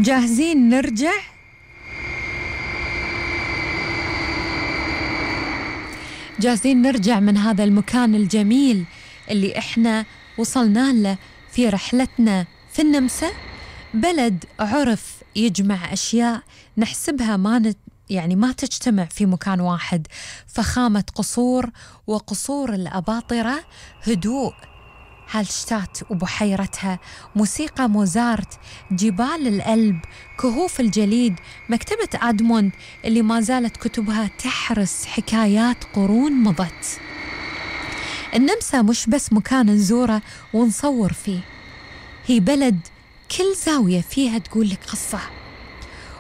جاهزين نرجع؟ جاهزين نرجع من هذا المكان الجميل اللي إحنا وصلنا له في رحلتنا في النمسا؟ بلد عرف يجمع أشياء نحسبها ما تجتمع في مكان واحد. فخامة قصور وقصور الأباطرة، هدوء هالشتات وبحيرتها، موسيقى موزارت، جبال الألب، كهوف الجليد، مكتبة آدموند اللي ما زالت كتبها تحرس حكايات قرون مضت. النمسا مش بس مكان نزوره ونصور فيه، هي بلد كل زاوية فيها تقول لك قصة.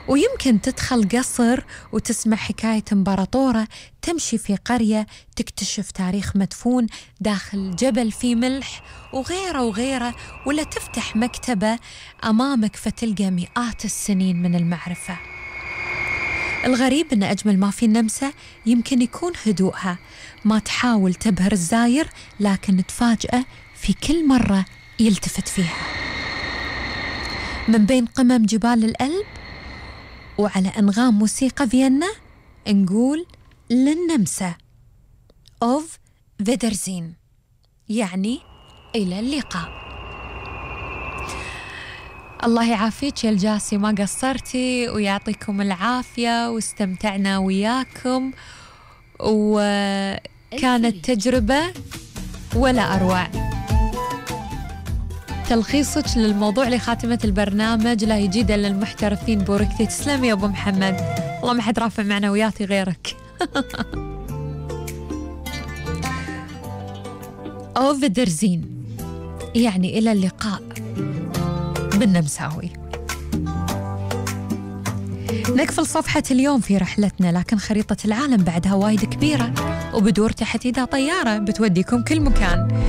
ويمكن تدخل قصر وتسمع حكاية إمبراطورة، تمشي في قرية تكتشف تاريخ مدفون داخل جبل فيه ملح وغيره وغيره، ولا تفتح مكتبة أمامك فتلقى مئات السنين من المعرفة. الغريب أن أجمل ما في النمسا يمكن يكون هدوءها، ما تحاول تبهر الزاير لكن تفاجأه في كل مرة يلتفت فيها. من بين قمم جبال الألب وعلى أنغام موسيقى فيينا نقول للنمسا أوف فيدرزين، يعني إلى اللقاء. الله يعافيك يا الجاسي، ما قصرتي ويعطيكم العافية، واستمتعنا وياكم وكانت تجربة ولا أروع. تلخيصك للموضوع لخاتمة البرنامج: لا يجيد إلا المحترفين بوركتي. تسلمي يا أبو محمد، والله ما حد رافع معنوياتي غيرك. أوف درزين يعني إلى اللقاء بالنمساوي. نقفل صفحة اليوم في رحلتنا، لكن خريطة العالم بعدها وايد كبيرة وبدور تحت إيدها طيارة بتوديكم كل مكان.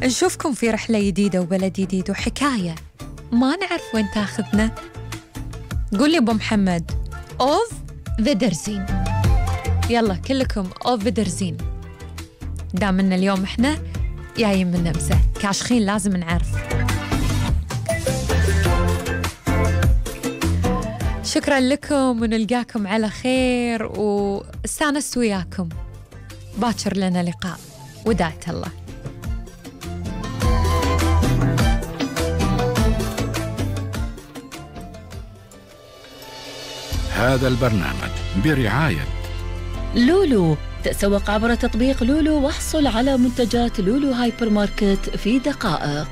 نشوفكم في رحلة جديدة وبلد جديد وحكاية ما نعرف وين تاخذنا. قول لي أبو محمد أوف فيدرزين، يلا كلكم أوف فيدرزين. دامنا اليوم إحنا جايين من النمسا كاشخين لازم نعرف. شكرا لكم ونلقاكم على خير، واستانست وياكم. باكر لنا لقاء، وداعة الله. هذا البرنامج برعاية لولو. تسوق عبر تطبيق لولو واحصل على منتجات لولو هايبر ماركت في دقائق.